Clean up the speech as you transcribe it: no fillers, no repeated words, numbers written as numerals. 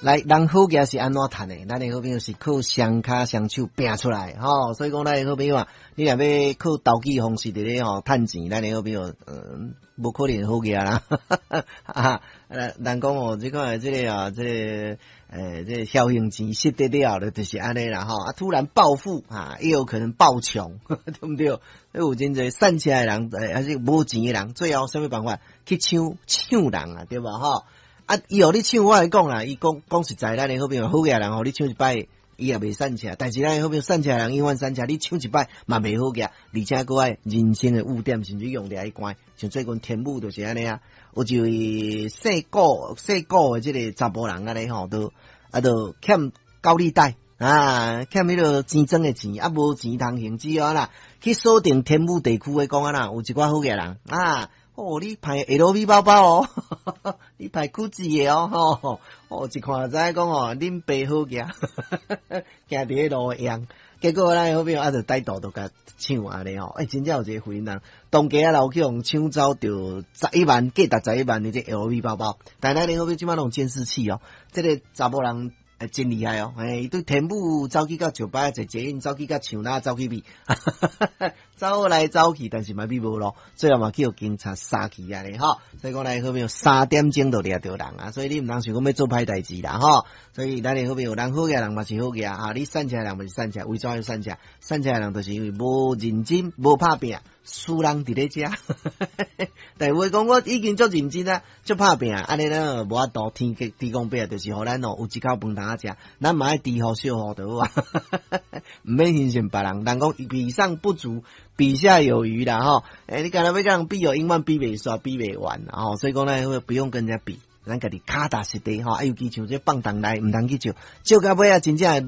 來，人好額是按怎趁的？咱的好朋友是靠雙跤雙手拚出來，吼。所以講，咱的好朋友啊，你若欲靠投機方式佇咧吼趁錢，咱的好朋友，無可能好額啦。啊，人講哦，這款這个啊，這個僥倖錢失得了的，就是按呢啦吼。啊，突然暴富啊，也有可能暴窮，對毋對？有真濟散車的人，還是無錢的人，最後啥物辦法去搶搶人啊，對無吼？啊，伊予你搶，我來講啦，伊講講實在，咱的好朋友好額人，予你搶一擺，伊也袂散車。但是咱的好朋友散車人永遠散車，你搶一擺嘛袂好額，而且閣愛人生的污點，甚至用掠去關。像最近天母就是按呢啊，有一位姓顧姓顧的這个查埔人按呢吼，都啊都欠高利貸啊，欠彼个錢莊的錢啊，無錢通還，只好啦去鎖定天母地區的講啊啦，有一寡好額人啊。哦，你排 LV 包包哦，你排 GUCCI 的哦，吼，哦，一看就知講哦，恁爸好額，行佇咧路用，結果咱好朋友啊，就帶道都共搶按呢吼，欸，真正有一个婦人，當家啊，老去予搶走著十一萬，價值十一萬的這 LV 包包，但咱的好朋友這擺攏有監視器哦，這个查某人欸，真厲害哦！欸，伊對天母走去到石牌坐捷運，走去到樹林走去邊，走來走去，但是嘛比無路，最後嘛去予警察殺去按呢吼。所以講來好朋友3點鐘就掠著人啊，所以你毋通想講欲做歹代誌啦吼。所以咱的好朋友，人好額人嘛是好額啊，你散車人嘛是散車，為怎樣散車？散車人就是因為無認真、無拍拚，輸人佇咧遮。但有話講，我已經足認真啊，足拍拚，按呢咱無法度天天公伯就是予咱哦有一口飯通食，咱嘛愛豬予小予就好啊，毋免欣羨別人。人講比上不足，比下有餘啦吼。欸，你敢若欲共人比哦，永遠比袂煞，比袂完吼。所以講咧，不用跟人家比，咱家己跤踏實地吼。啊，尤其像這放銅來，毋通去借，借到尾啊，真正會愈